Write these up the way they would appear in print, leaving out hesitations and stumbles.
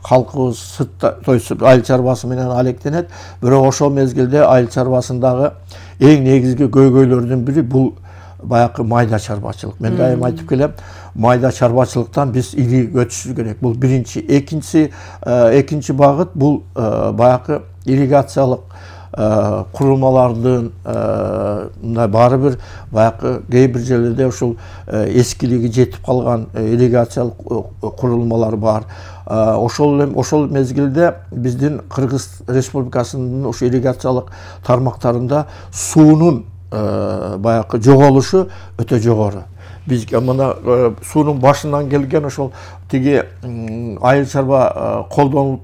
халкыбыз сыртта айыл чарбасы менен алектенет. Бирок ошол мезгилде айыл чарбасындагы эң негизги көйгөйлөрдүн бири бул баягы майда чарбачылык. Мен дайым айтып келем, майда чарбачылыктан биз ири өтүшүбүз керек. Бул биринчи. Экинчи багыт бул баягы ирригациялык курулмалардын баары бир баягы кээ бир жерлерде ушул эскилиги жетип калган ирригациялык курулмалар бар. Ошол мезгилде биздин Кыргыз Республикасынын ушу ирригациялык тармактарында суунун баягы жоголушу өтө жогору. Биз мына суунун башынан келген ошол тиги айыл чарба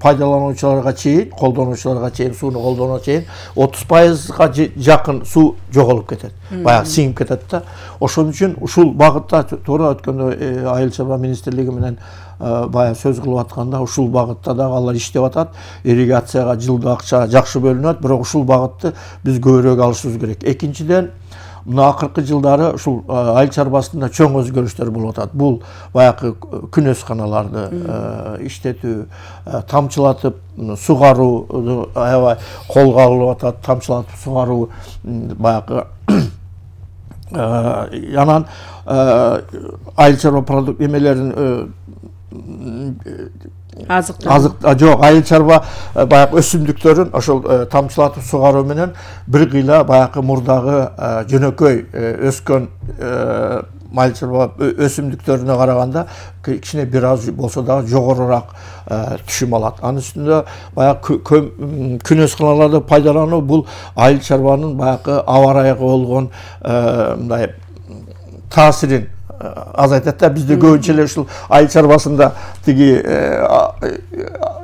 пайдалануучуларга чейин, сууну колдонууга чейин 30%га жакын суу жоголуп кетет. Баягы сиңип кетет да. Ошон үчүн ушул багытта туура өткөндө айыл чарба министрлиги менен баягы сөз кылып атканда ушул багытта дагы алар иштеп атат. Ирригацияга жылда акча жакшы бөлүнөт, бирок ушул багытты биз көбүрөөк алышыбыз керек. Экинчиден, мына акыркы жылдары ушул айыл чарбасында чоң өзгөрүштөр болуп атат. Бул баягы күнөсканаларды иштетүү, тамчылатып сугарууну аябай колго алынып атат. Тамчылатып сугаруу баягы анан айыл чарба продукт эмелерин жок, айыл чарба баягы өсүмдүктөрүн ошол тамчылатып сугаруу менен бир кыйла баягы мурдагы жөнөкөй өскөн айыл чарба өсүмдүктөрүнө караганда кичине бир аз болсо дагы жогорураак түшүм алат. Анын үстүндө баягы күнөсканаларды пайдалануу бул айыл чарбанын баягы аба ырайга болгон мындай таасирин азайтат да. Бизде көбүнчө эле ушул айыл чарбасында тиги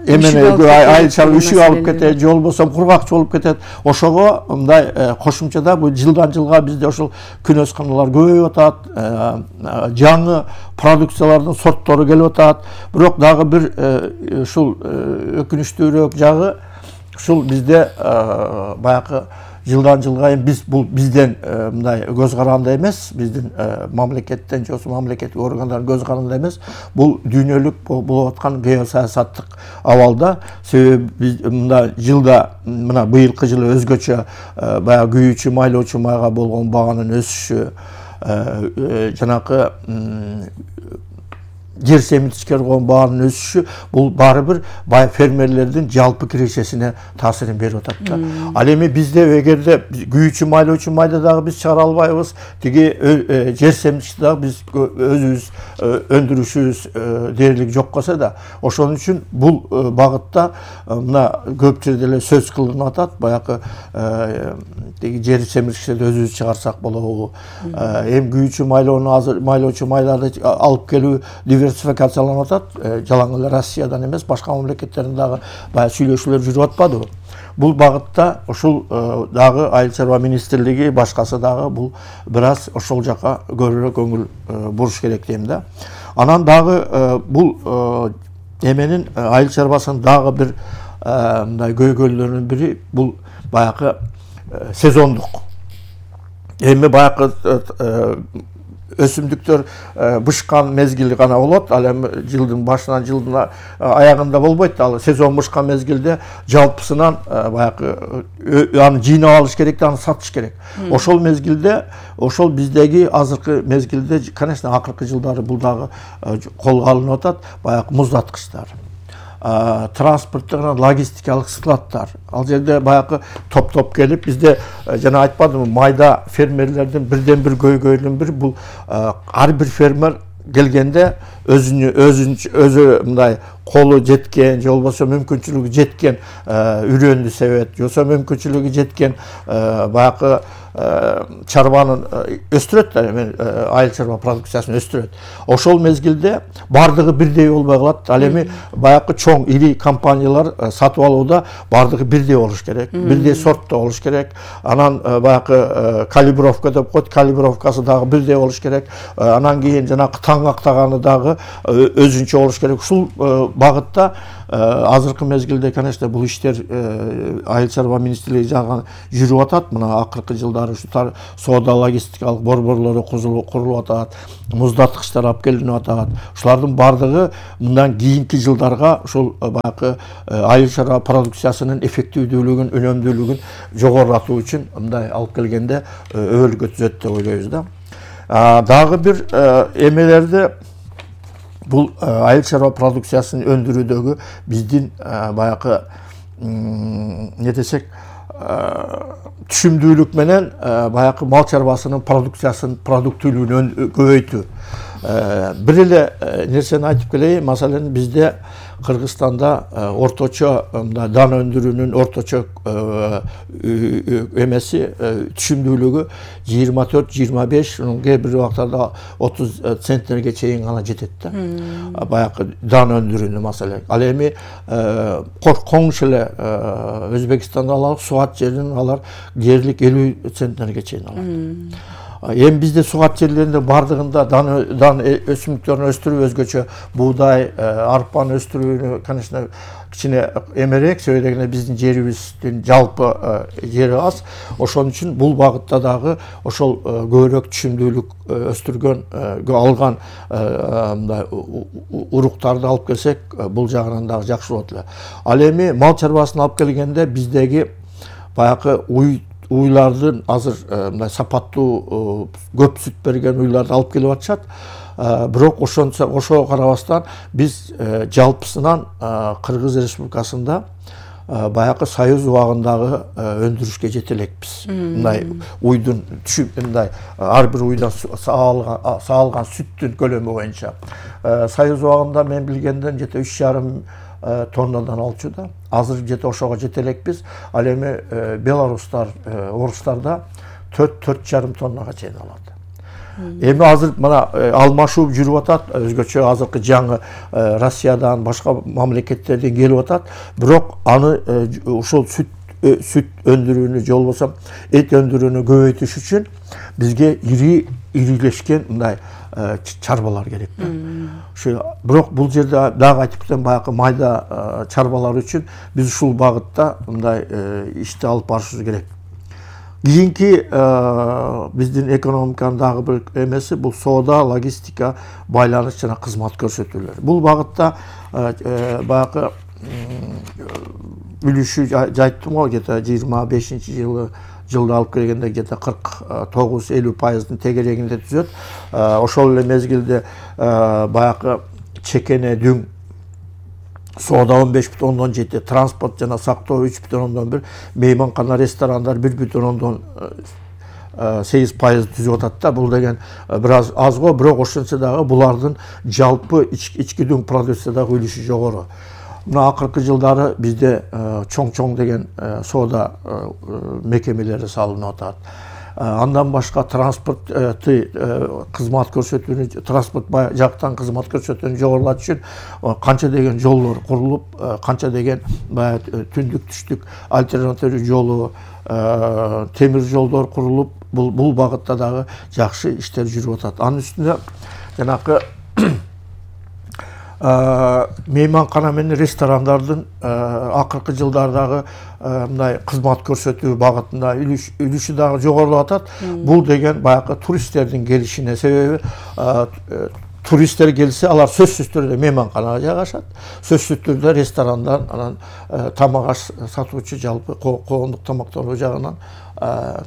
айыл чарба үшүк алып кетет, же болбосо кургакчы болуп кетет. Ошого мындай кошумчада бул жылдан жылга бизде ошол күнөсканалар көбөйүп атат, жаңы продукциялардын сорттору келип атат. Бирок дагы бир ушул өкүнүчтүүрөөк жагы, ушул бизде баягы жылдан жылга бул бизден мындай көз каранды эмес, биздин мамлекеттен же болбосо мамлекеттик органдардын көз каранды эмес, бул дүйнөлүк болуп аткан геосаясаттык абалда. Себеби биз мында жылда, мына быйылкы жылы өзгөчө баягы күйүүчү, майлоочу майга болгон баганын өсүшү, жанакы жер семирткичке болгон баанын өсүшү, бул баары бир фермерлердин жалпы кирешесине таасирин берип атат да. Ал эми бизде эгерде күйүүчү, майлоочу майда дагы биз чыгара албайбыз, тиги жер семирткичти дагы биз өзүбүз өндүрүшүбүз дээрлик жок болсо да, ошон үчүн бул багытта мына көп жерде эле сөз кылынып атат. Баягы тиги жер семирткичти өзүбүз чыгарсак болобу, эми күйүүчү майлоочу майларды алып келүү диверсификацияланып атат. Жалаң эле Россиядан эмес, башка мамлекеттерден дагы баягы сүйлөшүүлөр жүрүп атпадыбы? Бул багытта ушул дагы айыл чарба министрлиги, башкасы дагы бул бир аз ошол жака көбүрөөк көңүл буруш керек дейм да. Анан дагы бул эменин айыл чарбасынын дагы бир мындай көйгөйлөрүнүн бири бул баягы сезондук. Эми баягы өсүмдүктөр бышкан мезгили гана болот. Ал эми жылдын башынан жылдын аягында болбойт. Ал сезон бышкан мезгилде жалпысынан баягы аны жыйнап алыш керек, аны сатыш керек. Ошол мезгилде, ошол биздеги азыркы мезгилде, конечно, акыркы жылдары бул дагы колго алынып атат. Баягы муздаткычтар, транспорттук, логистикалык складдар. Ал жерде баягы топ келип, бизде жана айтпадымбы, майда фермерлердин бирден бир көйгөйүнүн бири бул ар бир фермер келгенде өзү мындай колу жеткен, же болбосо мүмкүнчүлүгү жеткен үрөндү себет, же болбосо мүмкүнчүлүгү жеткен баягы чарбанын өстүрөт да, айыл чарба продукциясын өстүрөт. Ошол мезгилде бардыгы бирдей болбой калат. Ал эми баягы чоң ири компаниялар сатып алууда бардыгы бирдей болуш керек, бирдей сортто болуш керек. Анан баягы калибровка деп коет, калибровкасы дагы бирдей болуш керек. Анан кийин жанагы таң актаганы дагы дагы өзүнчө болуш керек. Ушул багытта азыркы мезгилде, конечно, бул иштер Айыл чарба министрлиги жагынан жүрүп атат. Мына акыркы жылдары ушу соода логистикалык борборлору курулуп атат, муздаткычтар алып келинип атат. Ушулардын бардыгы мындан кийинки жылдарга ушул баягы айыл чарба продукциясынын эффективдүүлүгүн, өнөмдүүлүгүн жогорулатуу үчүн мындай алып келгенде өбөлгө түзөт деп ойлойбуз да. Дагы бир эмелерди бул айыл чарба продукциясын өндүрүүдөгү биздин баягы не десек түшүмдүүлүк менен баягы мал чарбасынын продукциясын, продуктүүлүгүн көбөйтүү. Бир эле нерсени айтып келейин. Маселен, бизде Кыргызстанда орточо дан өндүрүүнүн орточо эмеси түшүмдүүлүгү 24-25, кээ бир убактарда 30 центнерге чейин гана жетет да. Баягы дан өндүрүүнү маселен. Ал эми коңш эле Өзбекстанда алалы, Суат жеринен алар дээрлик 50 центнерге чейин алат. Эми бизде сугат жерлеринде бардыгында дан өсүмдүктөрүн өстүрүү өзгөчө, буудай, арпаны өстүрүүнү, конечно, кичине эмерээк, себеби дегенде биздин жерибиздин жалпы жери аз. Ошон үчүн бул багытта дагы ошол көбүрөөк түшүмдүүлүк өстүргөн, алган мындай уруктарды алып келсек, бул жагынан дагы жакшы болот эле. Ал эми мал чарбасын алып келгенде биздеги баягы уйлардын азыр мындай сапаттуу көп сүт берген уйларды алып келип атышат. Бирок ошого карабастан биз жалпысынан Кыргыз Республикасында баягы Союз убагындагы өндүрүшкө жете элекпиз. Мындай уйдун мындай ар бир уйдан саалган сүттүн көлөмү боюнча. Союз убагында мен билгенден жете 3,5 тоннадан алчуда. Азыр жете ошого жете элекпиз. Ал эми белорустар, орустарда 4,5 тоннага чейин алат. Эми азыр мына алмашуу жүрүп атат, өзгөчө азыркы жаңы Россиядан, башка мамлекеттерден келип атат. Бирок аны ушул сүт өндүрүүнү, же болбосо эт өндүрүүнү көбөйтүш үчүн бизге ирилешкен мындай чарбалар керек. Бирок бул жерде дагы айтып кетем, баягы майда чарбалар үчүн биз ушул багытта мындай ишти алып барышыбыз керек. Кийинки биздин экономиканын дагы бир эмеси бул соода, логистика, байланыш жана кызмат көрсөтүүлөр. Бул багытта баягы үлүшү айттым го, где-то 25-жылда алып келгенде где-то 49-50% тегерегинде түзөт. Ошол эле мезгилде баягы чекене, дүң, соода 15,7, транспорт жана сактоо 3,1, мейманкана, ресторандар 1,8% түзүп атат да. Бул деген бир аз го, бирок ошончо дагы булардын жалпы ички дүң продукциядагы үлүшү жогору. Мына акыркы жылдары бизде чоң деген соода мекемелери салынып атат. Андан башка транспортты, кызмат көрсөтүүнү, транспорт жактан кызмат көрсөтүүнү жогорулатыш үчүн канча деген жолдор курулуп, канча деген түндүк түштүк альтернативдүү жолу, темир жолдор курулуп, бул багытта дагы жакшы иштер жүрүп атат. Анын үстүнө жанакы мейманкана менен ресторандардын акыркы жылдардагы мындай кызмат көрсөтүү багытында үлүшү дагы жогорулап атат. Бул деген баягы туристтердин келишине, себеби туристтер келсе, алар сөзсүз түрдө мейманканага жайгашат, сөзсүз түрдө ресторандан, анан тамак аш сатуучу жалпы коомдук тамактануу жагынан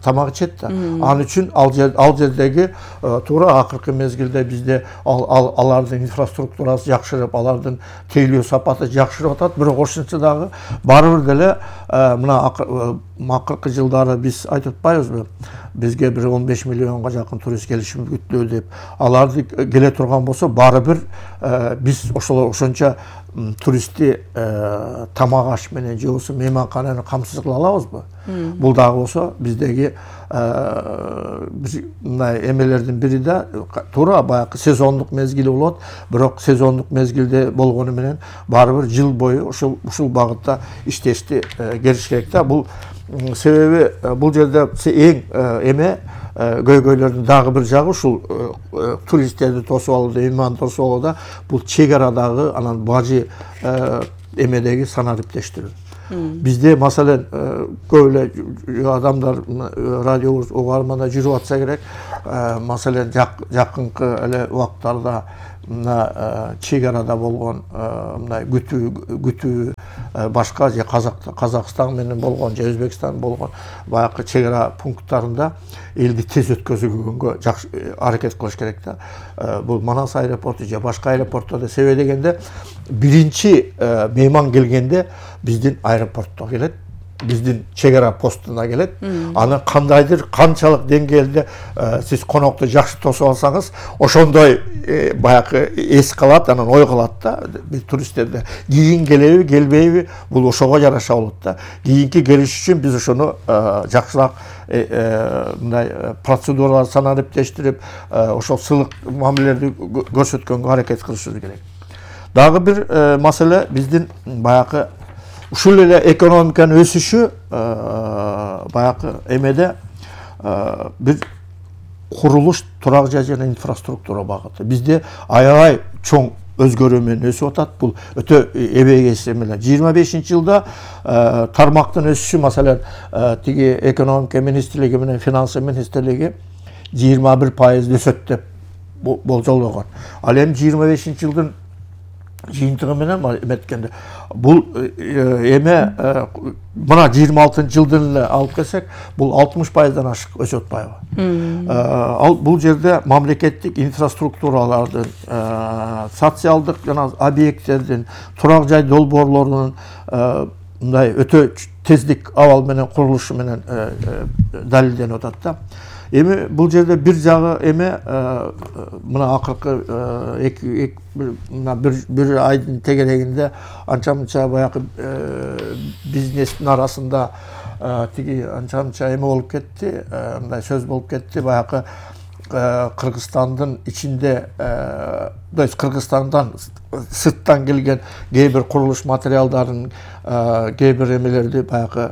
тамак ичет да. Ал үчүн ал жердеги туура акыркы мезгилде бизде алардын инфраструктурасы жакшырып, алардын тейлөө сапаты жакшырып атат. Бирок ошончо дагы баары бир деле мына акыркы жылдары биз айтып атпайбызбы? Бизге бир 15 миллионго жакын турист келиши күтүлөт деп. Аларды келе турган болсо, баары бир биз ошончо туристти тамак аш менен же болбосо мейманкананы камсыз кыла алабызбы? Бул дагы болсо биздеги мындай эмелердин бири да туура баягы сезондук мезгили болот. Бирок сезондук мезгилде болгону менен баары бир жыл бою ушул багытта иштешти келиш керек да. Бул себеби бул жерде эң эме көйгөйлөрдүн дагы бир жагы ушул туристтерди тосуп алууда, иманды тосуп алууда бул чек арадагы анан бажы эмедеги санариптештирүү. Бизде маселен көп эле адамдар радио угарманда жүрүп атса керек, маселен жакынкы эле убактарда мына чек арада болгон мындай күтүү башка же Казакстан менен болгон же Өзбекстан болгон баягы чек ара пункттарында элди тез өткөзүүгө жакшы аракет кылыш керек да. Бул Манас аэропорту же башка аэропорттордо себеби дегенде биринчи мейман келгенде биздин аэропортто келет, биздин чек ара постуна келет. Аны кандайдыр канчалык деңгээлде сиз конокту жакшы тосуп алсаңыз, ошондой баягы эс калат, анан ой калат да. Биз туристтерде кийин келеби, келбейби, бул ошого жараша болот да. Кийинки келиш үчүн биз ошону жакшыраак мындай процедуралар санариптештирип, ошол сыйлык мамилелерди көрсөткөнгө аракет кылышыбыз керек. Дагы бир маселе биздин баягы ушул эле экономиканын өсүшү баягы эмеде бир курулуш, турак жай жана инфраструктура багыты. Бизде аябай чоң өзгөрүү менен өсүп атат. Бул өтө эбегейсиз эмелер. 25-жылда тармактын өсүшү маселен тиги экономика министрлиги менен финанс министрлиги 21% өсөт деп болжолгон. Ал эми 25-жылдын жыйынтыгы менен эметкенде бул эме мына 26-жылдын эле алып келсек, бул 60%дан ашык өсүп атпайбы? Ал бул жерде мамлекеттик инфраструктуралардын, социалдык жана объекттердин, турак жай долбоорлорунун мындай өтө тездик абал менен курулушу менен далилденип атат да. Эми бул жерде бир жагы эме мына акыркы бир айдын тегерегинде анча-мынча баягы бизнестин арасында тиги анча-мынча эме болуп кетти, мындай сөз болуп кетти, баягы Кыргызстандын ичинде, Кыргызстандан сырттан келген кээ бир курулуш материалдарын, кээ бир эмелерди баягы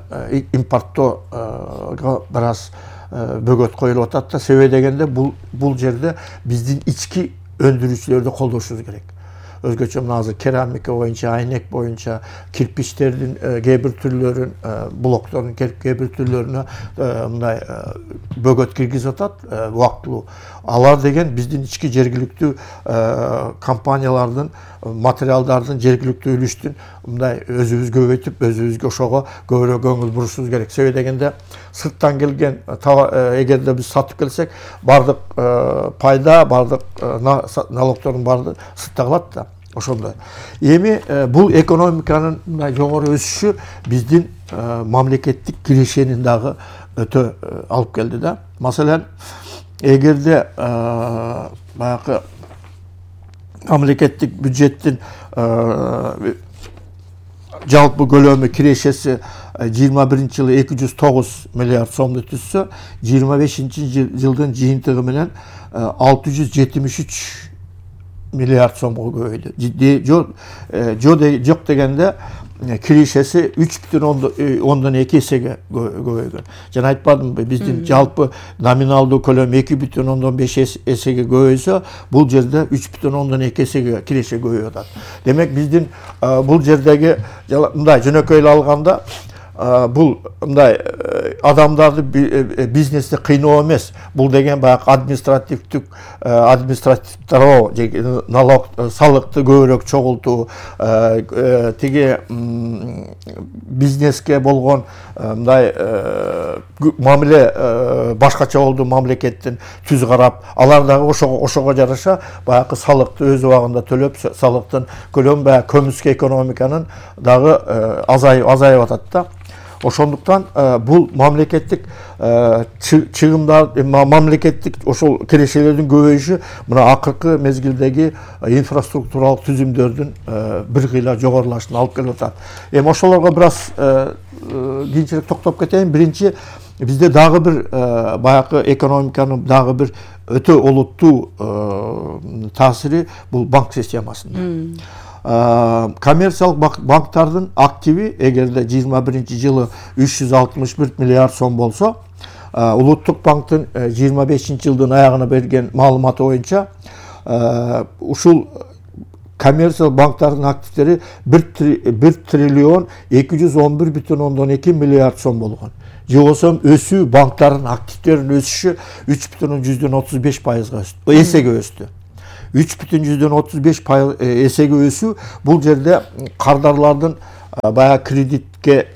импорттоого бир аз бөгөт коюлуп атат да. Себеби дегенде бул жерде биздин ички өндүрүүчүлөрдү колдошубуз керек. Өзгөчө мына азыр керамика боюнча, айнек боюнча, кирпичтердин кээ бир түрлөрүн, блоктордун кээ бир түрлөрүнө мындай бөгөт киргизип атат убактылуу. Алар деген биздин ички жергиликтүү компаниялардын, материалдардын, жергиликтүү үлүштүн мындай өзүбүз көбөйтүп, өзүбүзгө ошого көбүрөөк көңүл бурушубуз керек. Себеби дегенде сырттан келген эгерде биз сатып келсек, бардык пайда, бардык налогтордун баары сыртта калат да. Ошондой. Эми бул экономиканын мындай жогору өсүшү биздин мамлекеттик кирешенин дагы өтө алып келди да. Маселен, эгерде баягы мамлекеттик бюджеттин жалпы көлөмү кирешеси 21-жылы 209 миллиард сомду түзсө, 25-жылдын жыйынтыгы менен 673 миллиард сомго көбөйдү. Жок дегенде кирешеси 3,2 эсеге көбөйгөн. Жана айтпадымбы, биздин жалпы номиналдуу көлөм 2,5 эсеге көбөйсө, бул жерде 3,2 эсеге киреше көбөйүп атат. Демек биздин бул жердеги мындай жөнөкөй эле алганда бул мындай адамдарды бизнесте кыйноо эмес. Бул деген баягы административдоо же налог салыкты көбүрөөк чогултуу, тиги бизнеске болгон мындай мамиле башкача болду мамлекеттин түз карап, алар дагы ошого жараша баягы салыкты өз убагында төлөп, салыктын көлөмү баягы көмүскө экономиканын дагы азайып атат да. Ошондуктан бул мамлекеттик чыгымдар, мамлекеттик ошол кирешелердин көбөйүшү мына акыркы мезгилдеги инфраструктуралык түзүмдөрдүн бир кыйла жогорулашына алып келип атат. Эми ошолорго бир аз кийинчерээк токтоп кетейин. Биринчи, бизде дагы бир баягы экономиканын дагы бир өтө олуттуу таасири бул банк системасында. Коммерциялык банктардын активи эгерде 21-жылы 361 миллиард сом болсо, Улуттук банктын 25-жылдын аягына берген маалыматы боюнча ушул коммерциялык банктардын активдери 1 триллион 211,2 миллиард сом болгон. Же болбосо өсүү банктардын активдеринин өсүшү 3,35%га өстү. Эсеге өстү. 3,35% эсеге өсүү бул жерде кардарлардын баягы кредитке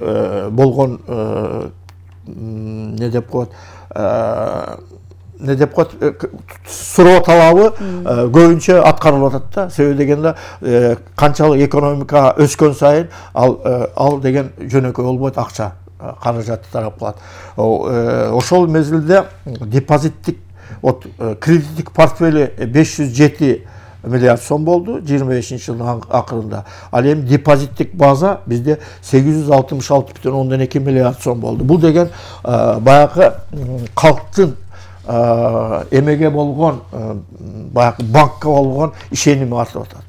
болгон не деп коет суроо талабы көбүнчө аткарылып атат да. Себеби дегенде канчалык экономика өскөн сайын ал деген жөнөкөй болбойт, акча каражаты тарап калат. Ошол мезгилде депозиттик кредиттик портфели 507 миллиард сом болду 25-жылдын акырында. Ал эми депозиттик база бизде 866,2 миллиард сом болду. Бул деген баягы калктын эмеге болгон баягы банкка болгон ишеними артып атат.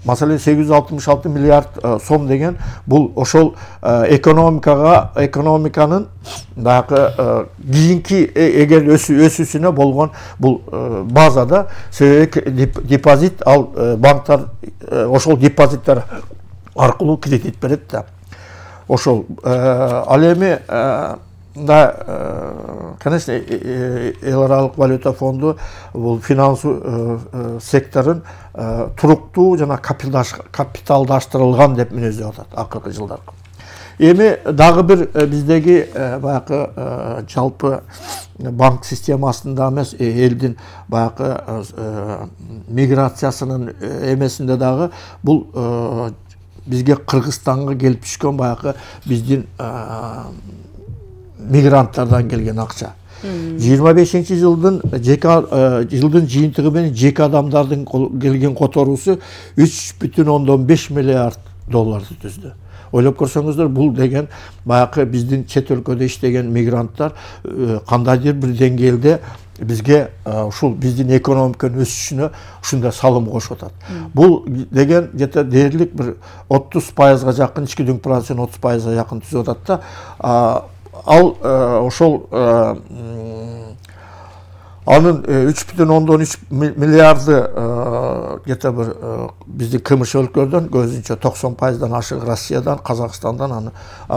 Маселен 866 миллиард сом деген бул ошол экономиканын баягы кийинки эгер өсүүсүнө болгон бул базада, себеби депозит ал банктар ошол депозиттер аркылуу кредит берет да. Ошол ал эми конечно, эл аралык валюта фонду бул финансылык секторун туруктуу жана капиталдаштырылган деп мүнөздөп атат акыркы жылдарда. Эми дагы бир биздеги баягы жалпы банк системасында эмес, элдин баягы миграциясынын эмесинде дагы бул бизге Кыргызстанга келип түшкөн баягы биздин мигранттардан келген акча. 25-жылдын жыйынтыгы менен жеке адамдардын келген которуусу 3,5 миллиард долларды түздү. Ойлоп көрсөңүздөр, бул деген баягы биздин чет өлкөдө иштеген мигранттар кандайдыр бир деңгээлде бизге ушул биздин экономиканын өсүшүнө ушундай салым кошуп атат. Бул деген где-то дээрлик бир 30%га жакын, ички дүң продуктунун 30%га жакын түзүп атат да. Ал ошол анын 3,3 миллиарды где-то бир биздин кымыш өлкөлөрдөн, көбүнчө 90%дан ашык Россиядан, Казакстандан, аны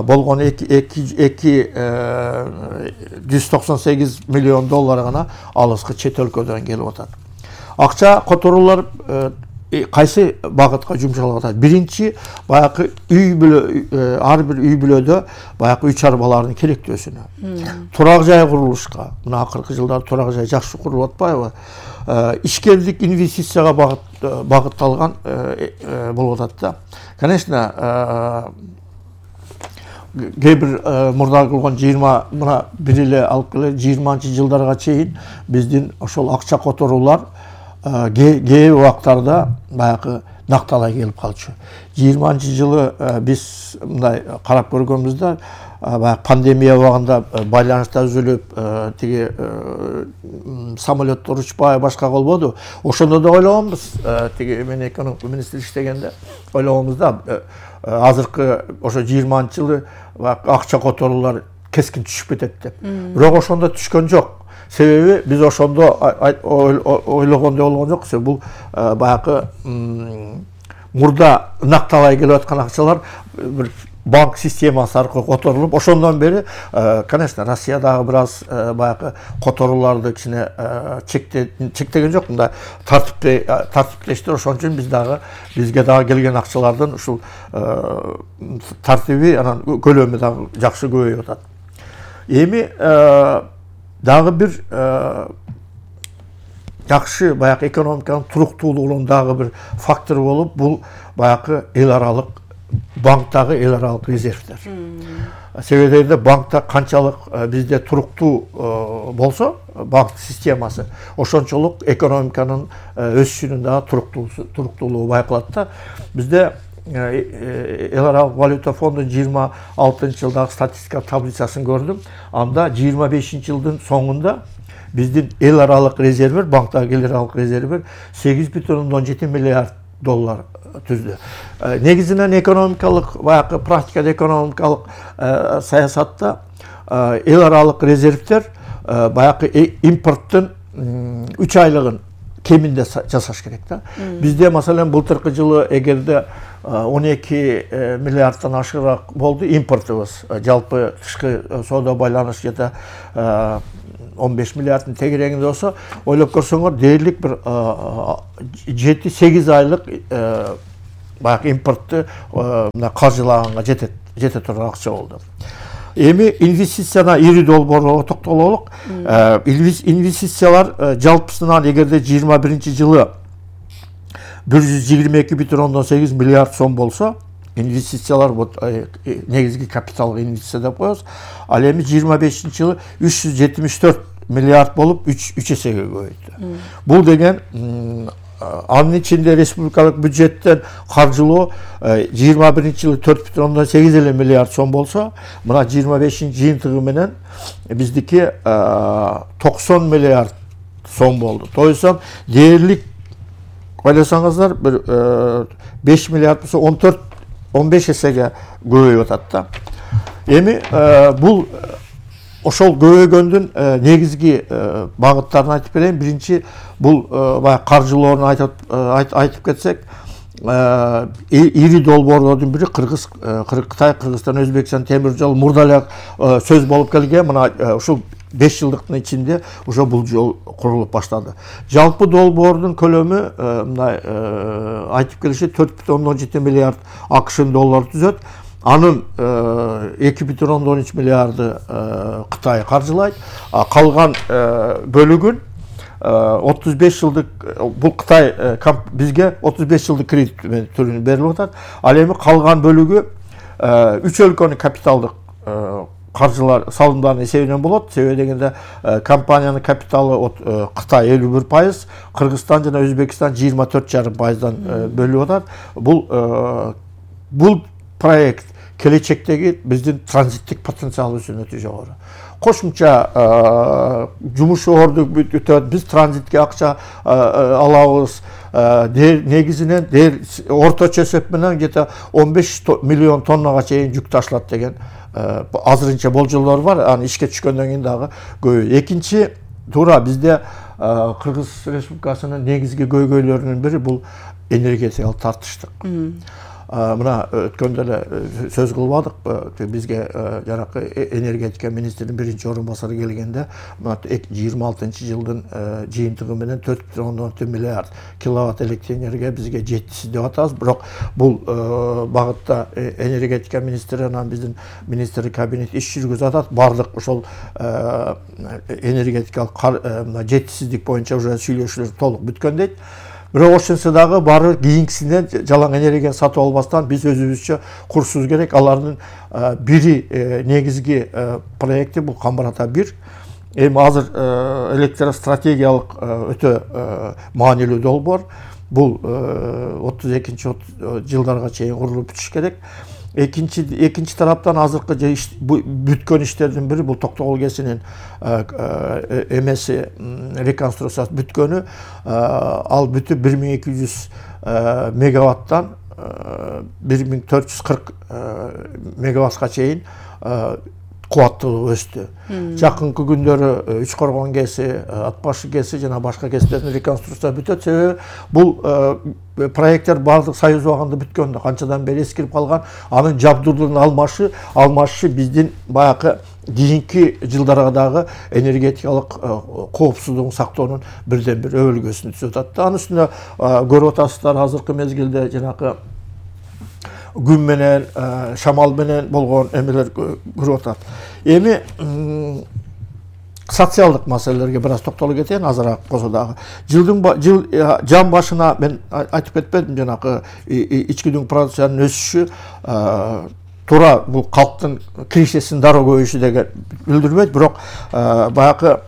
болгон 298 миллион доллар гана алыскы чет өлкөдөн келип атат. Акча которуулар кайсы багытка жумшалып атат? Биринчи, баягы үй бүлө, ар бир үй бүлөдө баягы үй чарбалардын керектөөсүнө. Турак жай курулушка, мына акыркы жылдары турак жай жакшы курулуп атпайбы? Ишкерлик, инвестицияга багытталган болуп атат да. Конечно, кээ бир мурда кылган 20 мына бир эле алып келе 20-жылдарга чейин биздин ошол акча которуулар кээ убактарда баягы накталай келип калчу. 20-жылы биз мындай карап көргөнбүздө, баягы пандемия убагында байланыштар үзүлүп, тиги самолеттор учпай башка болбоду. Ошондо да ойлогонбуз, тиги мен экономика министри иштегенде ойлогонбуз да, азыркы ошо 20-жылы акча которуулар кескин түшүп кетет деп. Бирок ошондо түшкөн жок. Себеби биз ошондо ойлогондой болгон жок. Бул баягы мурда накталай келип аткан акчалар бир банк системасы аркылуу которулуп, ошондон бери, конечно, Россия дагы бир аз баягы которууларды кичине чектеген жок, мындай тартиптештир. Ошон үчүн бизге дагы келген акчалардын ушул тартиби, анан көлөмү дагы жакшы көбөйүп атат. Эми дагы бир жакшы баягы экономиканын туруктуулугунун дагы бир фактор болуп, бул баягы эл аралык банктагы эл аралык резервдер. Себеби банкта канчалык бизде туруктуу болсо банк системасы, ошончолук экономиканын өсүшүнүн дагы туруктуулугу байкалат да. Бизде эл аралык валюта фондунун 26-жылдагы статистика таблицасын көрдүм. Анда 25-жылдын соңунда биздин эл аралык резервер, банктагы эл аралык резервер 8,7 миллиард доллар түздү. Негизинен экономикалык, баягы практикада экономикалык саясатта эл аралык резервдер баягы импорттун 3 айлыгын кеминде жасаш керек да. Бизде маселен былтыркы жылы эгерде 12 миллиардтан ашыгыраак болду импортубуз. Жалпы тышкы соода байланыш жете 15 миллиардтын тегерегинде болсо, ойлоп көрсөңөр дээрлик бир 7-8 айлык баягы импортту каржылаганга жете турган акча болду. Эми инвестицияна ири долбоорго токтололук. Инвестициялар жалпысынан эгерде 21-жылы 122,8 миллиард сом болсо, инвестициялар негизги капиталга инвестиция деп коебуз. Ал эми 25-жылы 374 миллиард болуп 3 эсеге көбөйдү. Бул деген анын ичинде республикалык бюджеттен каржылоо 21-жылы 4,8 миллиард сом болсо, мына 25-жыйынтыгы менен биздики 90 миллиард сом болду. Тоюсам дээрлик ойлосоңуздар бир 5 миллиард болсо 14-15 эсеге көбөйүп атат да. Эми бул ошол көбөйгөндүн негизги багыттарын айтып берейин. Биринчи бул баягы каржылоорун айтып кетсек, ири долбоорлордун бири Кытай, Кыргызстан, Өзбекстан темир жол мурда эле сөз болуп келген. Мына ушул 5 жылдыктын ичинде уже бул жол курулуп баштады. Жалпы долбоордун көлөмү мындай айтып келиши 4,17 миллиард АКШ доллар түзөт. Анын 2,13 миллиарды Кытай каржылайт. Калган бөлүгүн 35 жылдык бул Кытай бизге 35 жылдык кредит түрүнө берилип атат. Ал эми калган бөлүгү 3 өлкөнүн капиталдык каржылар салымдардын эсебинен болот. Себеби дегенде компаниянын капиталы Кытай 51%, Кыргызстан жана Өзбекстан 24,5%дан бөлүп атат. Бул проект келечектеги биздин транзиттик потенциалыбыздын өтө жогору. Кошумча жумуш орду бүтөт, биз транзитке акча алабыз. Негизинен орточо эсеп менен где-то 15 миллион тоннага чейин жүк ташылат деген азырынча болжолдор бар. Аны ишке түшкөндөн кийин дагы көбөйөт. Экинчи туура бизде Кыргыз Республикасынын негизги көйгөйлөрүнүн бири бул энергетикалык тартыштык. Мына өткөндө эле сөз кылбадык, бизге жанакы энергетика министринин биринчи орун басары келгенде 26-жылдын жыйынтыгы менен 4,14 миллиард киловатт электр энергия бизге жеткиси деп атабыз. Бирок бул багытта энергетика министри анан биздин министрлик кабинет иш жүргүзүп атат. Бардык ошол энергетикалык жеткисиздик боюнча уже сүйлөшүүлөр толук бүткөн дейт. Бирок ошонсо дагы баары кийинкисинен жалаң энергияны сатып албастан биз өзүбүзчө курсубуз керек. Алардын бири негизги проекти бул Камбар Ата 1. Эми азыр электростратегиялык өтө маанилүү долбоор. Бул 32-жылдарга чейин курулуп бүтүш керек. Экинчи тараптан азыркы бүткөн иштердин бири бул Токтогул КЭСинин эмеси реконструкциясы бүткөнү. Ал бүтүп 1200 мегаваттан 1440 мегаваттка чейин кубаттуулугу өстү. Жакынкы күндөрү Үч Коргон КЭСи, Атбашы КЭСи жана башка КЭСтердин реконструкция бүтөт. Себеби бул проекттер бардык союз убагында бүткөн, канчадан бери эскирип калган. Анын жабдуулугун алмашы биздин баягы кийинки жылдарга дагы энергетикалык коопсуздугун сактоонун бирден бир өбөлгөсүн түзүп атат. Анын үстүнө көрүп атасыздар, азыркы мезгилде жанакы күн менен, шамал менен болгон эмелер көрүп атат. Эми социалдык маселелерге бир аз токтолуп кетейин, азыраак болсо дагы. Жан башына мен айтып кетпедим, жанакы ички дүң продукциянын өсүшү туура бул калктын киришесин дароо көбөйүшү деген билдирбейт, бирок баягы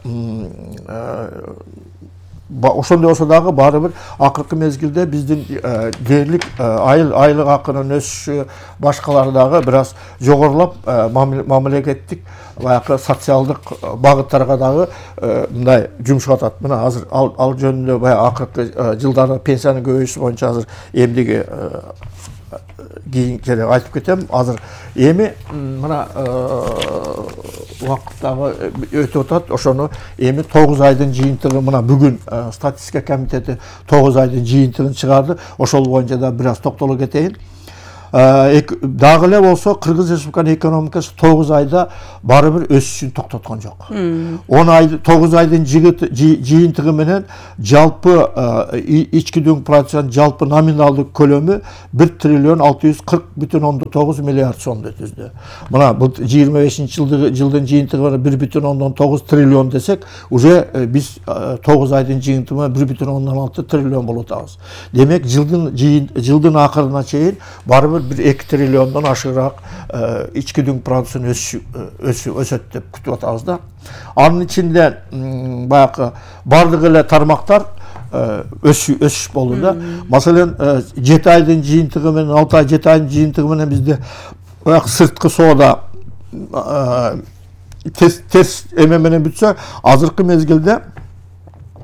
ошондой болсо дагы баары бир акыркы мезгилде биздин дээрлик айлык акынын өсүшү, башкалары дагы бир аз жогорулап, мамлекеттик баягы социалдык багыттарга дагы мындай жумшап атат. Мына азыр ал жөнүндө баягы акыркы жылдары пенсиянын көбөйүшү боюнча азыр эмдиги кийин айтып кетем. Азыр эми мына убакыттагы өтүп атат. Ошону эми 9 айдын жыйынтыгы мына бүгүн статистика комитети 9 айдын жыйынтыгын чыгарды. Ошол боюнча да бир аз токтоло кетейин. Дагы эле болсо Кыргыз Республиканын экономикасы 9 айда бары бир өсүшүн токтоткон жок. 9 айдын жыйынтыгы менен жалпы ички дүң продукциянын жалпы номиналдык көлөмү 1 триллион 640,9 миллиард сомду түздү. Мына бул 25-жылдын жыйынтыгы 1,9 триллион десек, уже биз 9 айдын жыйынтыгы 1,6 триллион болуп атабыз. Демек жылдын акырына чейин бары бир 2 триллиондон ашыгыраак ички дүң продукциянын өсөт деп күтүп атабыз да. Анын ичинде баягы бардык эле тармактар өсүш болду да. Маселен, 7 айдын жыйынтыгы менен 6 ай 7 айдын жыйынтыгы менен бизде баягы сырткы соода терс эме менен бүтсө, азыркы мезгилде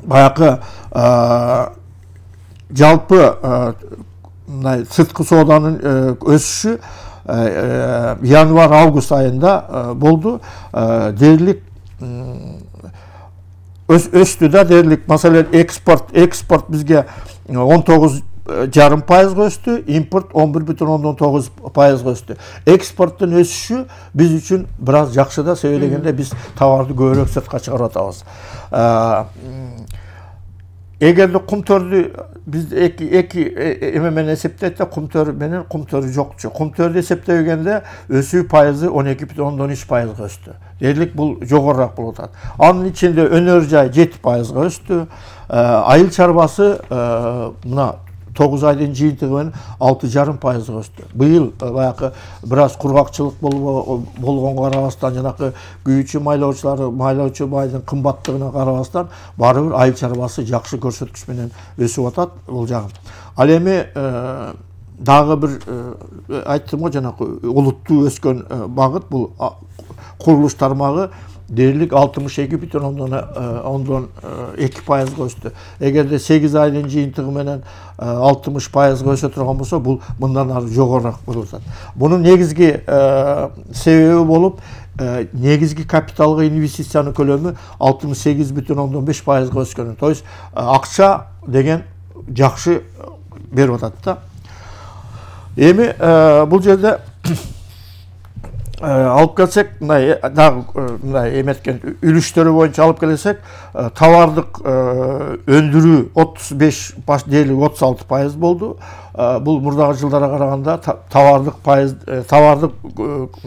баягы жалпы сырткы сооданын өсүшү январь-август айында болду. Дээрлик өстү да, дээрлик. Маселен, экспорт бизге 19,5% өстү, импорт 11,9% өстү. Экспорттун өсүшү биз үчүн бир аз жакшы да, себеби дегенде биз товарды көбүрөөк сыртка чыгарып атабыз. Эгерде кумтөрдү биз эки эме менен эсептейт да, кумтөр менен кумтөрү жокчу. Кумтөрдү эсептегенде өсүү пайызы 12,3% өстү. Дээрлик бул жогорураак болуп атат. Анын ичинде өнөр жай 7% өстү. Айыл чарбасы мына 9 айдын жыйынтыгы менен 6,5% өстү. Быйыл баягы бир аз кургакчылык болгонго карабастан, жанакы күйүүчү майлоочу майдын кымбаттыгына карабастан, бары бир айыл чарбасы жакшы көрсөткүч менен өсүп атат бул жагы. Ал эми дагы бир айттым го, жанакы олуттуу өскөн багыт бул курулуш тармагы дээрлик 62,2% өстү. Эгерде 8 айдын жыйынтыгы менен 60% өсө турган болсо, бул мындан ары жогорураак болуп атат. Бунун негизги себеби болуп, негизги капиталга инвестициянын көлөмү 68,5% өскөн. То есть акча деген жакшы берип атат да. Эми бул жерде алып келсек, мындай эметкен үлүштөрү боюнча алып келсек, товардык өндүрүү 35, баш дээрлик 36% болду. Бул мурдагы жылдарга караганда товардык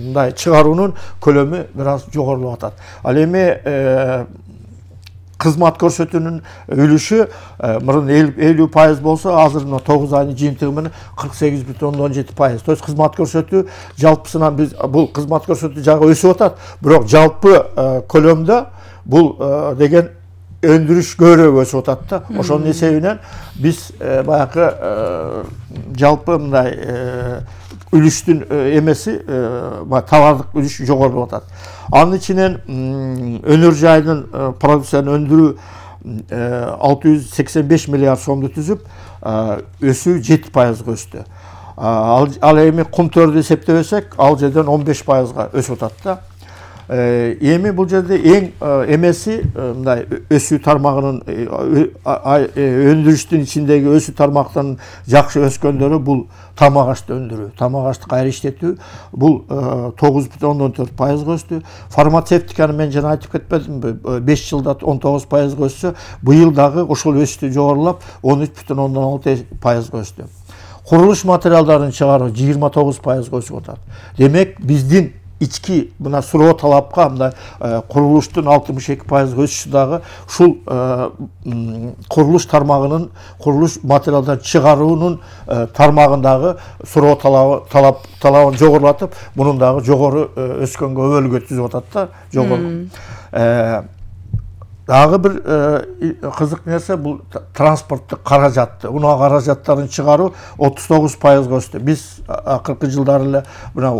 мындай чыгаруунун көлөмү бир аз жогорулуп атат. Ал эми кызмат көрсөтүүнүн үлүшү мурун 50% болсо, азыр 9 айдын жыйынтыгы менен 48,17%. То есть кызмат көрсөтүү жалпысынан биз бул кызмат көрсөтүү жагы өсүп атат, бирок жалпы көлөмдө бул деген өндүрүш көбүрөөк өсүп атат да. Ошонун эсебинен биз баягы жалпы мындай үлүштүн эмеси, товардык үлүш жогорулуп атат. Анын ичинен өнөр жайдын продукцияны өндүрүү 685 миллиард сомду түзүп, өсүү 7% өстү. Ал эми кумтөрдү эсептебесек, ал жерден 15% өсүп атат да. Эми бул жерде эң эмеси мындай өсүү тармагынын өндүрүштүн ичиндеги өсүү тармактарынын жакшы өскөндөрү бул тамак ашты өндүрүү, тамак ашты кайра иштетүү, бул 9,14% өстү. Фармацевтиканы мен жана айтып кетпедимби, 5 жылда 19% өссө, быйыл дагы ошол өсүштү жогорулап 13,6% өстү. Курулуш материалдарын чыгаруу 29% өсүп атат. Демек, биздин ички мына суроо талапка мындай курулуштун 62% өсүшү дагы ушул курулуш тармагынын, курулуш материалдарын чыгаруунун тармагындагы суроо талабын жогорулатып, мунун дагы жогору өскөнгө өбөлгө түзүп атат да, жогору. Дагы бир кызык нерсе бул транспорттук каражатты. Унаа каражаттарын чыгаруу 39% өстү. Биз акыркы жылдары эле мына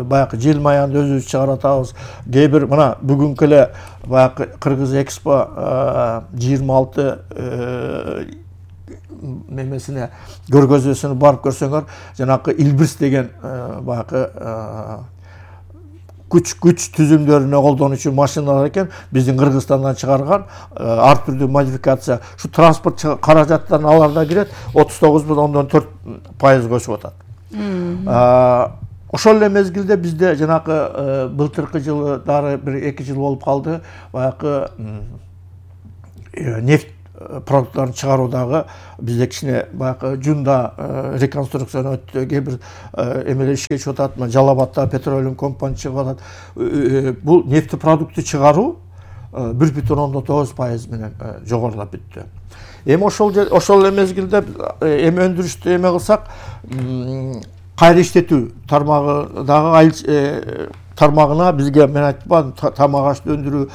баягы жел маянды өзүбүз чыгарып атабыз. Кээ бир мына бүгүнкү эле баягы Кыргыз Экспо 26 мемесине көргөзмөсүнө барып көрсөңөр, жанакы Илбирс деген баягы күч түзүмдөрүнө колдонуучу машиналар экен, биздин Кыргызстандан чыгарган ар түрдүү модификация. Ушу транспорт каражаттарын аларда кирет, 39,4% өсүп атат. Ошол эле мезгилде бизде жанакы былтыркы жылы дары бир 2 жыл болуп калды, баягы нефть продукттарын чыгаруудагы бизде кичине баягы жунда реконструкцияны өттү, кээ бир эмелер ишке чыгып атат, Жалал-Абадта Petroleum Company чыгып атат. Бул нефть продукты чыгаруу 1,9% менен жогорулап бүттү. Эми ошол эле мезгилде эми өндүрүштү эме кылсак, кайра иштетүү тармагыдагы тармагына бизге мен айтпадым, тамак ашты өндүрүү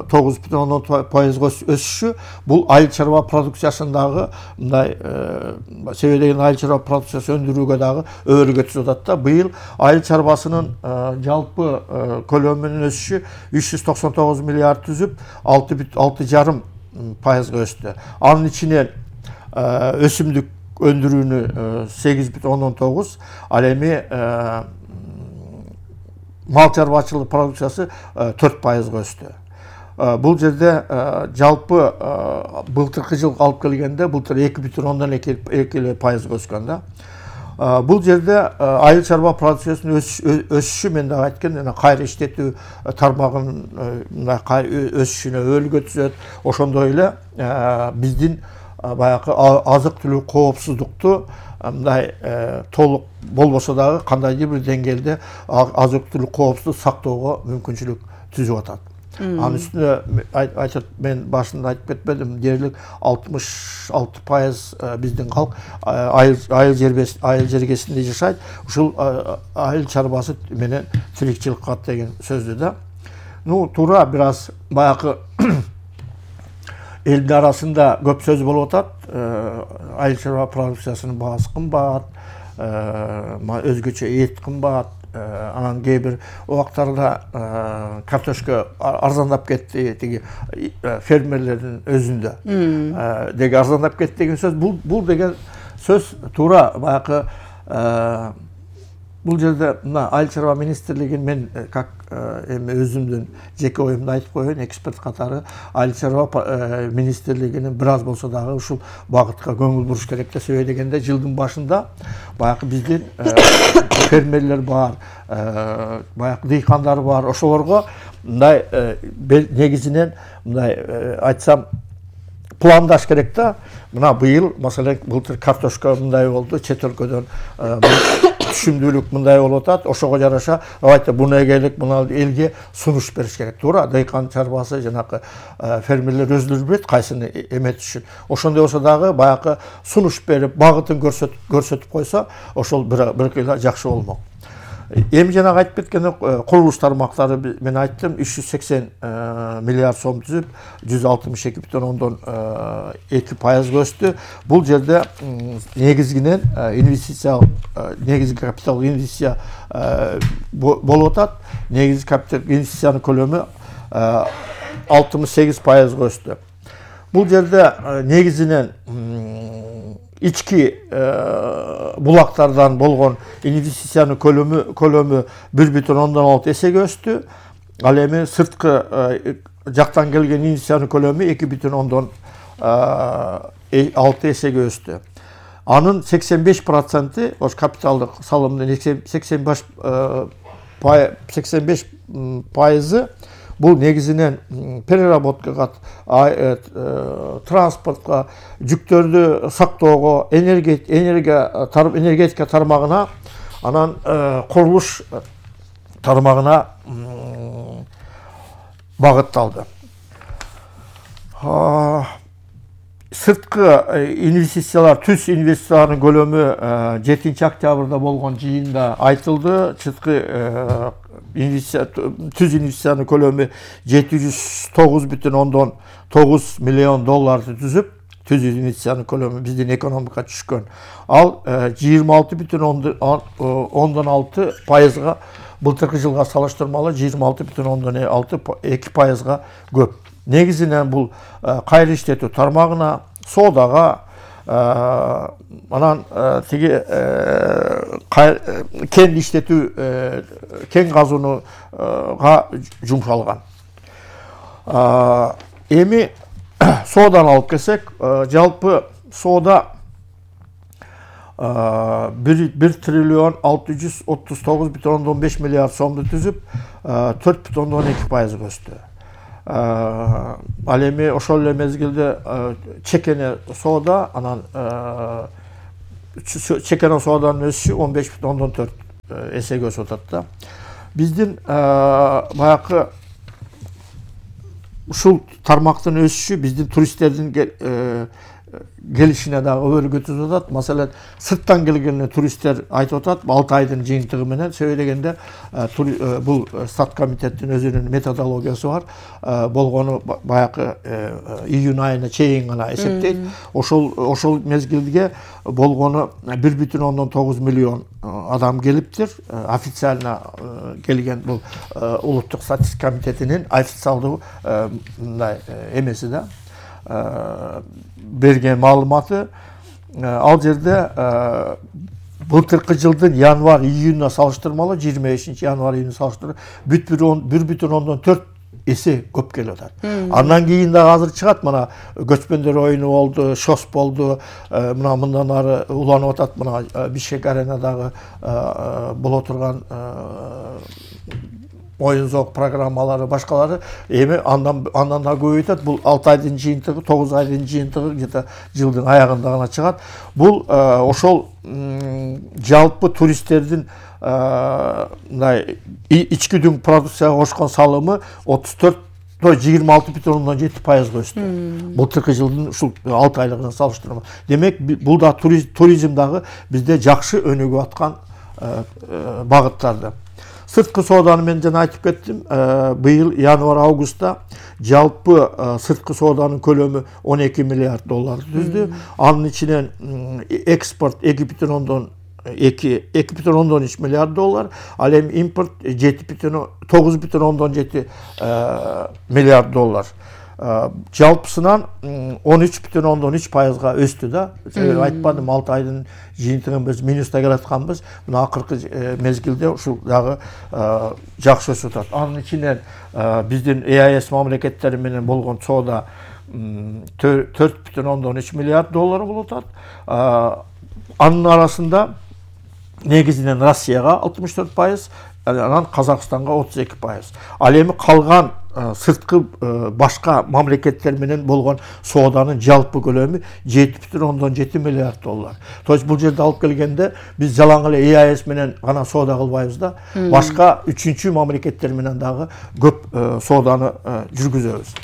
9,10% өсүшү, бул айыл чарба продукциясындагы мындай себедеген айыл чарба продукциясы өндүрүүгө дагы өбөлгө түзүп атат да. Быйыл айыл чарбасынын жалпы көлөмүнүн өсүшү 399 миллиард түзүп 6,5% өстү. Анын ичинен өсүмдүк өндүрүүнү 8,19, ал эми мал чарбачылык продукциясы 4% өстү. Бул жерде жалпы былтыркы жыл алып келгенде былтыр 2,2% өскөн да. Бул жерде айыл чарба продукциясынын өсүшү, мен да айткан, кайра иштетүү тармагынын өсүшүнө өбөлгө түзөт. Ошондой эле биздин баягы азык-түлүк коопсуздукту мындай толук болбосо дагы кандайдыр бир деңгээлде азык-түлүк коопсуздук сактоого мүмкүнчүлүк түзүп атат. Анын үстүнө мен башында айтып кетпедим, дээрлик 66% биздин калк айыл жергесинде жашайт. Ушул айыл чарбасы менен тирикчилик кылат деген сөздү да. Туура бир аз баягы элдин арасында көп сөз болуп атат. Айыл чарба продукциясынын баасы кымбат, өзгөчө эт кымбат, анан кээ бир убактарда картошка арзандап кетти, тиги фермерлердин өзүндө деги арзандап кетти деген сөз. Бул деген сөз туура баягы бул жерде мына айыл чарба министрлигин мен как эми өзүмдүн жеке оюмду айтып коеюн, эксперт катары айыл чарба министрлигинин бир аз болсо дагы ушул багытка көңүл буруш керек да. Себеби дегенде жылдын башында баягы биздин фермерлер бар, баягы дыйкандар бар. Ошолорго мындай негизинен мындай айтсам пландаш керек да. Мына быйыл маселен былтыр картошка мындай болду, чет өлкөдөн түшүмдүүлүк мындай болуп атат. Ошого жараша буну эгелик, мына элге сунуш бериш керек. Туура, дыйкан чарбасы жанакы фермерлер өздөрү билет кайсыны эметишин. Ошондой болсо дагы баягы сунуш берип, багытын көрсөтүп койсо, ошол бир кыйла жакшы болмок. Эми жанагы айтып кеткен курулуш тармактары мен айттым, 380 миллиард сом түзүп 162,2% өстү. Бул жерде негизинен негизги капитал инвестиция болуп атат. Негизги капитал инвестициянын көлөмү 68% өстү. Бул жерде негизинен ички булактардан болгон инвестициянын көлөмү 1,6 эсеге өстү. Ал эми сырткы жактан келген инвестициянын көлөмү 2,6 эсеге өстү. Анын 85% ош капиталдык салымдын 85% бул негизинен переработкага, транспортко, жүктөрдү сактоого, энергетика тармагына, анан курулуш тармагына багытталды. Сырткы инвестициялар, түз инвестициялардын көлөмү 7 октябрда болгон жыйында айтылды. Түз инвестициянын көлөмү 709,9 миллион долларды түзүп, түз инвестициянын көлөмү биздин экономикага түшкөн. Ал 26,6%га былтыркы жылга салыштырмалуу 26,2%га көп. Негизинен бул кайра иштетүү тармагына, соодага, анан тиги кен иштетүү, кен казууга жумшалган. Эми сооданы алып келсек, жалпы соода 1 триллион 639,5 миллиард сомду түзүп, 4,2% өстү. Ал эми ошол эле мезгилде чекене соода, анан чекене сооданын өсүшү 15,4 эсеге өсүп атат да. Биздин баягы ушул тармактын өсүшү биздин туристтердин келишине дагы өбөлгө түзүп атат. Маселен, сырттан келген туристтер айтып атат, 6 айдын жыйынтыгы менен, себеби дегенде бул Стат комитеттин өзүнүн методологиясы бар. Болгону баягы июнь айына чейин гана эсептейт. Ошол мезгилге болгону 1,9 миллион адам келиптир. Официально келген бул улуттук статистика комитетинин официалдуу мындай эмеси да. Берген маалыматы. Ал жерде былтыркы жылдын январь-июнуна салыштырмалуу 25 январь-июнуна салыштырып 1,4 эсе көп келип атат. Андан кийин дагы азыр чыгат, мына көчмөндөр оюну болду, ШОС болду, мына мындан ары уланып атат, мына Бишкек аренадагы боло турган оюн-зоок программалары, башкалары. Эми андан да көбөйтөт. Бул 6 айдын жыйынтыгы, 9 айдын жыйынтыгы где-то жылдын аягында гана чыгат. Бул ошол жалпы туристтердин мындай ички дүң продукцияга кошкон салымы 26,7% өстү. Былтыркы жылдын ушул 6 айлыгына салыштырмалуу. Демек, бул да туризм дагы бизде жакшы өнүгүп аткан багыттарды. Сырткы сооданы мен жана айтып кеттим. Быйыл январь-августта жалпы сырткы сооданын көлөмү 12 миллиард долларды түздү. Анын ичинен экспорт 2,13 миллиард доллар, ал эми импорт 9,7 миллиард доллар. Жалпысынан 13,3%га өстү да. Айтпадым, 6 айдын жыйынтыгын биз минуста келатканбыз. Мына акыркы мезгилде ушул дагы жакшы өсүп атат. Анын ичинен биздин ЕАЭС мамлекеттери менен болгон соода 4,3 миллиард доллар болуп атат. Анын арасында негизинен Россияга 64%, анан Казакстанга 32%. Ал эми калган сырткы башка мамлекеттер менен болгон сооданын жалпы көлөмү 7,7 миллиард доллар. То есть бул жерде алып келгенде биз жалаң эле ЕАЭС менен гана соода кылбайбыз да, башка үчүнчү мамлекеттер менен дагы көп сооданы жүргүзөбүз.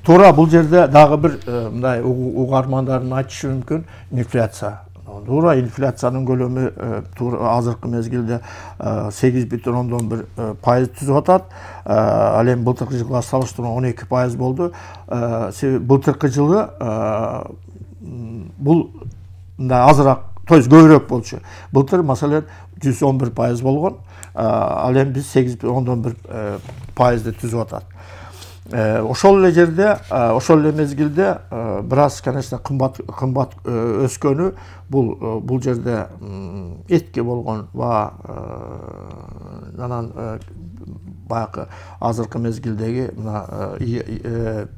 Туура бул жерде дагы бир мындай угармандардын айтышы мүмкүн инфляция. Туура инфляциянын көлөмү азыркы мезгилде 8,1% түзүп атат. Ал эми былтыркы жылга салыштырмалуу 12% болду. Былтыркы жылы бул мындай азыраак, то есть көбүрөөк болчу. Былтыр маселен 111% болгон. Ал эми биз 8,1%ды түзүп атат. Ошол эле жерде, ошол эле мезгилде бир аз, конечно, кымбат өскөнү бул жерде этке болгон баа, анан баягы азыркы мезгилдеги мына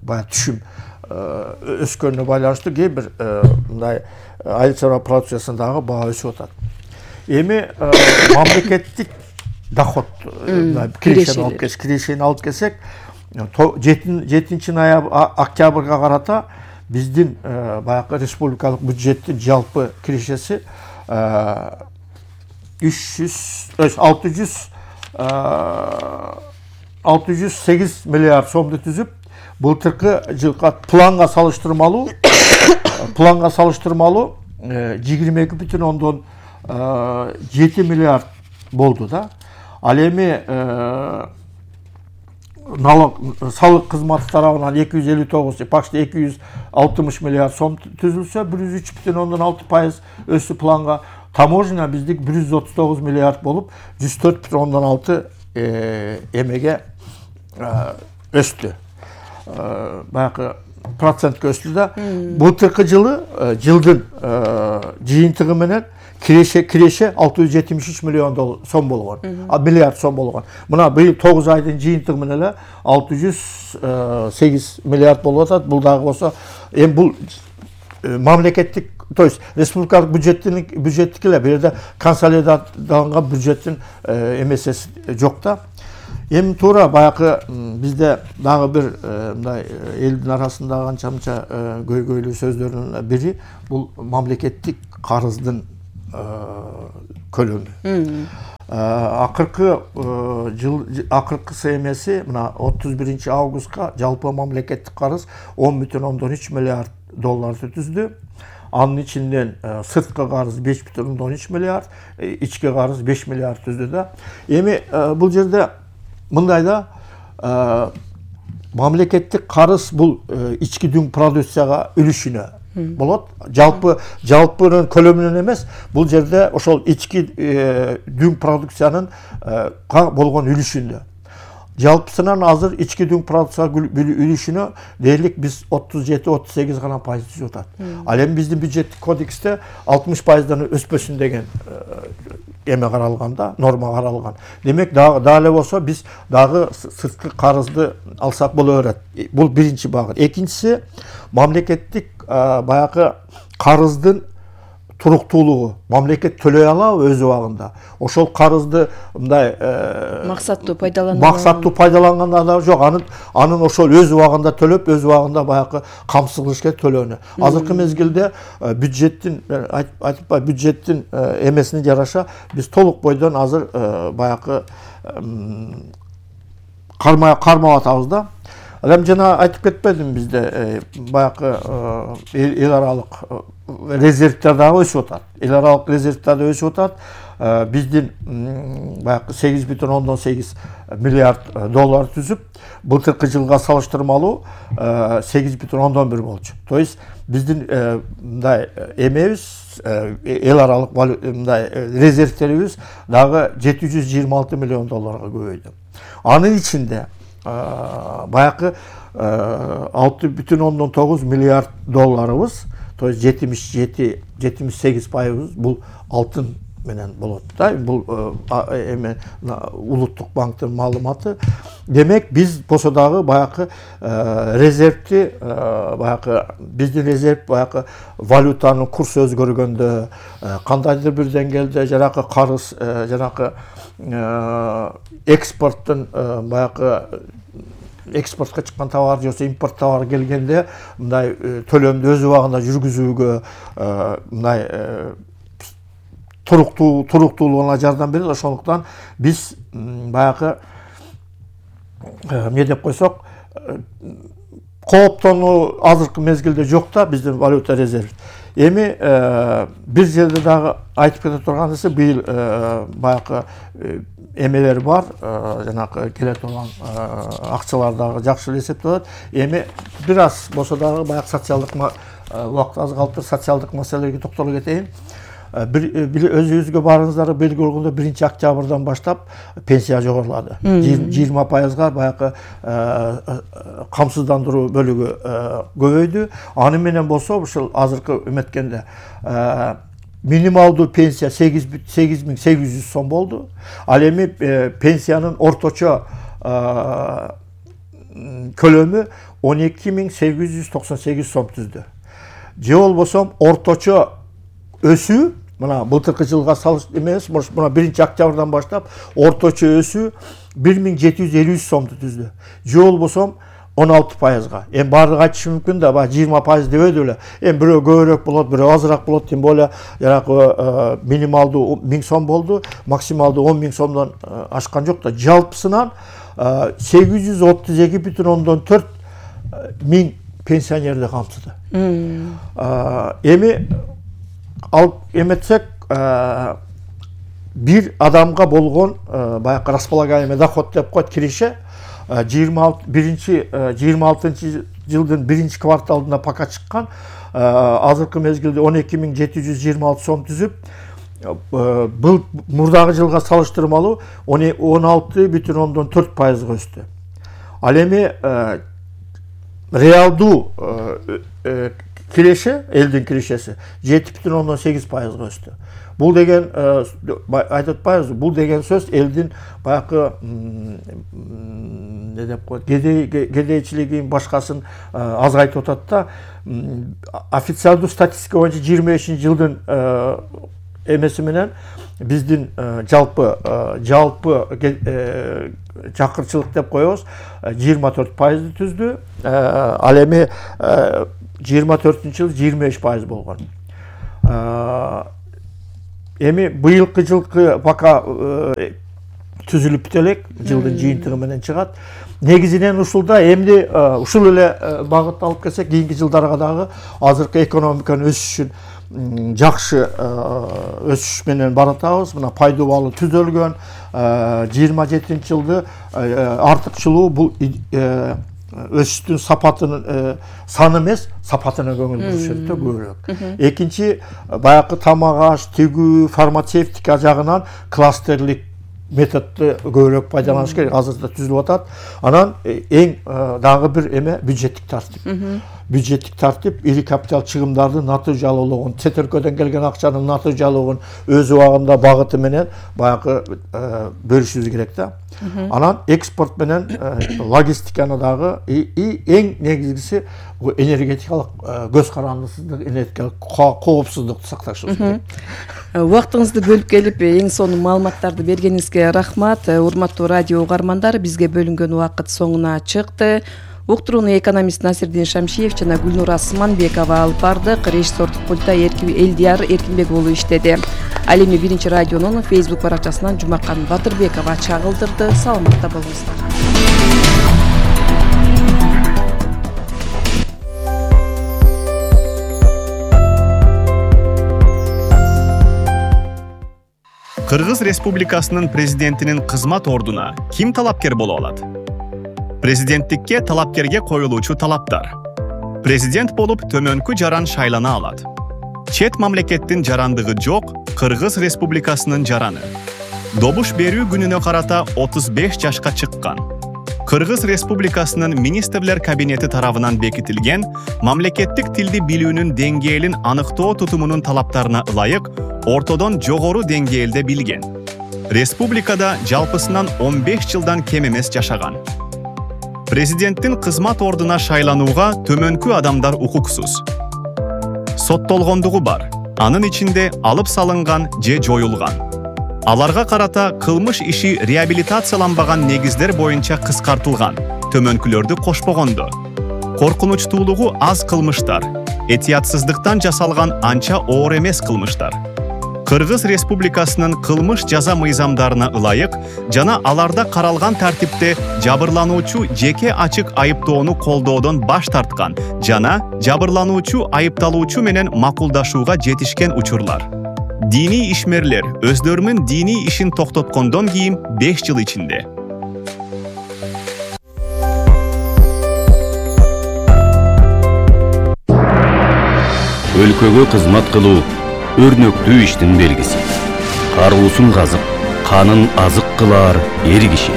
баягы түшүм өскөнүнө байланыштуу кээ бир мындай айыл чарба продукциясындагы баа өсүп атат. Эми мамлекеттик доход кирешени алып келсек, 7 октябрга карата биздин баягы республикалык бюджеттин жалпы кирешеси 608 миллиард сомду түзүп, былтыркы жылга планга салыштырмалуу 22,7 миллиард болду да. Ал эми салык кызматы тарабынан 259, почти 260 миллиард сом түзүлсө, 103,6% өсү планга. Таможня биздик 139 миллиард болуп, 104,6 эмеге өстү. Баягы процентке өстү да. Былтыркы жылдын жыйынтыгы менен киреше 673 миллион сом болгон. Миллиард сом болгон. Мына быйыл 9 айдын жыйынтыгы менен эле 608 миллиард болуп атат. Бул дагы болсо эми бул мамлекеттик, то есть республикалык бюджеттики эле, бул жерде консолидацияланган бюджеттин эмеси жок да. Эми туура баягы бизде дагы бир мындай элдин арасында канча-мынча көйгөйлүү сөздөрдүн бири бул мамлекеттик карыздын көлөмү. Акыркы эмеси мына 31 августка жалпы мамлекеттик карыз 10,3 миллиард долларды түздү. Анын ичинден сырткы карыз 5,3 миллиард, ички карыз 5 миллиард түздү да. Эми бул жерде мындай да, мамлекеттик карыз бул ички дүң продукцияга үлүшүнө болот. Жалпынын көлөмүнөн эмес, бул жерде ошол ички дүң продукциянын болгон үлүшүндө. Жалпысынан азыр ички дүң продукция үлүшүнө дээрлик биз 37-38 гана пайыз түзүп атат. Ал эми биздин бюджеттик кодексте 60%дан өспөсүн деген эме каралган да, норма каралган. Демек дагы эле болсо биз дагы сырткы карызды алсак боло берет. Бул биринчи багыт. Экинчиси мамлекеттик баягы карыздын туруктуулугу. Мамлекет төлөй алабы өз убагында. Ошол карызды мындай максаттуу пайдаланганда да жок. Анын ошол өз убагында төлөп, өз убагында баягы камсыз кылыш керек төлөөнү. Азыркы мезгилде бюджеттин бюджеттин эмесине жараша биз толук бойдон азыр баягы кармап атабыз да. Эми жана айтып кетпедим, бизде баягы эл аралык резервдер дагы өсүп атат. Эл аралык резервдер да өсүп атат. Биздин баягы 8,8 миллиард доллар түзүп, былтыркы жылга салыштырмалуу 8,1 болчу. То есть биздин мындай эмебиз, эл аралык мындай резервдерибиз дагы 726 миллион долларга көбөйдү. Анын ичинде баягы 6,9 миллиард долларыбыз, то есть 78% бул алтын менен болот да. Бул эме улуттук банктын маалыматы. Демек биз болсо дагы баягы резервти баягы биздин резерв баягы валютанын курсу өзгөргөндө, кандайдыр бир деңгээлде жанагы карыз, жанагы экспорттун баягы экспортко чыккан товар же импорт товар келгенде мындай төлөмдү өз убагында жүргүзүүгө мындай туруктуулугуна жардам берет. Ошондуктан биз баягы эмне деп койсок, кооптонуу азыркы мезгилде жок да биздин валюта резерв. Эми бир жерде дагы айтып кете турган нерсе, быйыл баягы эмелер бар, жанагы келе турган акчалар дагы жакшы эле эсептелет. Эми бир аз болсо дагы баягы социалдык убакыт аз калыптыр, социалдык маселелерге токтолуп кетейин. Өзүңүзгө барыңыздар белгилүү болгондой 1-октябрдан баштап пенсия жогорулады. 20%га баягы камсыздандыруу бөлүгү көбөйдү. Аны менен болсо ушул азыркы эметкенде минималдуу пенсия 8.800 сом болду. Ал эми пенсиянын орточо көлөмү 12.898 сом түздү. Же болбосо орточо өсүү, мына былтыркы жылга эмес, мына 1-октябрдан баштап орточо өсүү 1753 сомду түздү. Же болбосо 16%га. Эми баардыгы айтышы мүмкүн да, 20% дебеди эле. Эми бирөө көбүрөөк болот, бирөө азыраак болот, тем более жанагы минималдуу 1000 сом болду, максималдуу 10.000 сомдон ашкан жок да. Жалпысынан 832,4 миң пенсионерди камтыды. Эми алып эметсек, бир адамга болгон баягы располагаемый доход деп коет, киреше 26 жылдын 1-кварталында пока чыккан, азыркы мезгилде 12.726 сом түзүп, бул мурдагы жылга салыштырмалуу 16,4% өстү. Ал эми реалдуу киреше, элдин кирешеси 7,8%га өстү. Бул деген айтып атпайбызбы, бул деген сөз элдин баягы не деп коет, кедейчилигин башкасын азгайтып атат да. Официалдуу статистика боюнча 25-жылдын эмеси менен биздин жалпы чакырчылык деп коебуз 24% түздү. Ал эми 24-жылы 25% болгон. Эми быйылкы жылкы пока түзүлүп бүтө элек, жылдын жыйынтыгы менен чыгат. Негизинен ушулда эмди ушул эле багытты алып келсек, кийинки жылдарга дагы азыркы экономиканын өсүшүн жакшы өсүш менен баратабыз. Мына пайдубалы түзөлгөн 27-жылды артыкчылуу бул өсүштүн сапатынын саны эмес, сапатына көңүл бурушат да көбүрөөк. Экинчи, баягы тамак аш, тигүү, фармацевтика жагынан кластерлик методду көбүрөөк пайдаланыш керек. Азырда түзүлүп атат. Анан эң дагы бир эме бюджеттик тартип. Бюджеттик тартип ири капитал чыгымдардын натыйжалуулугун, чет өлкөдөн келген акчанын натыйжалуулугун өз убагында багыты менен баягы бөлүшүбүз керек да. Анан экспорт менен логистиканы дагы эң негизгиси энергетикалык көз карандысыздык, энергетикалык коопсуздукту сакташыбыз керек. Убактыңызды бөлүп келип, эң сонун маалыматтарды бергениңизге рахмат. Урматтуу радио угармандар, бизге бөлүнгөн убакыт соңуна чыкты. Уктурууну экономист Насирдин Шамшиев жана Гүлнура Сыманбекова алып бардык. Режиссердук пультта Элдияр Эркинбек уулу иштеди. Ал эми Биринчи радионун Facebook баракчасынан Жумакан Батырбекова чагылдырды. Саламатта болуңуздар. Кыргыз Республикасынын президентинин кызмат ордуна ким талапкер боло алат? Президенттикке талапкерге коюлуучу талаптар. Президент болуп төмөнкү жаран шайлана алат. Чет мамлекеттин жарандыгы жок Кыргыз Республикасынын жараны. Добуш берүү күнүнө карата 35 жашка чыккан. Кыргыз Республикасынын министрлер кабинети тарабынан бекитилген мамлекеттик тилди билүүнүн деңгээлин аныктоо тутумунун талаптарына ылайык ортодон жогору деңгээлде билген. Республикада жалпысынан 15 жылдан кем эмес жашаган. Президенттин кызмат ордуна шайланууга төмөнкү адамдар укуксуз. Соттолгондугу бар, анын ичинде алып салынган же жоюлган. Аларга карата кылмыш иши реабилитацияланбаган негиздер боюнча кыскартылган, төмөнкүлөрдү кошпогондо. Коркунучтуулугу аз кылмыштар, этиятсыздыктан жасалган анча оор эмес кылмыштар. Кыргыз Республикасынын кылмыш жаза мыйзамдарына ылайык жана аларда каралган тартипте жабырлануучу жеке ачык айыптоону колдоодон баш тарткан жана жабырлануучу айыпталуучу менен макулдашууга жетишкен учурлар. Дини ишмерлер өздөрүнүн дини ишин токтоткондон кийин 5 жыл ичинде. Өлкөгө кызмат кылуу өрнөктүү иштин белгиси. Каруусун казып, канын азык кылар эр киши.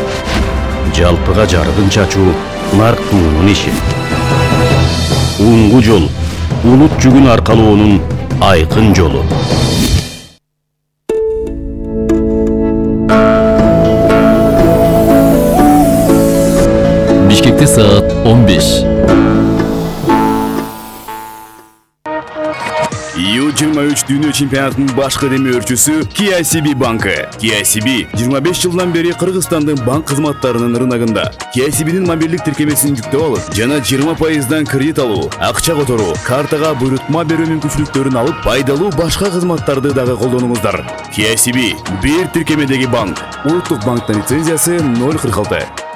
Жалпыга жарыгын чачуу нарктуунун иши. Уңгу жол улут жүгүн аркалоонун айкын жолу. Бишкекте саат 15. U23 дүйнө чемпионатынын башкы демөөрчүсү KCB банкы. KCB 25 жылдан бери Кыргызстандын банк кызматтарынын рыногунда. KCB'нин мобилдик тиркемесин жүктөп алып, жана 20%дан кредит алуу, акча которуу, картага буйрутма берүү мүмкүнчүлүктөрүн алып, пайдалуу башка кызматтарды дагы колдонуңуздар. KCB бир тиркемедеги банк. Улуттук банктын лицензиясы 046.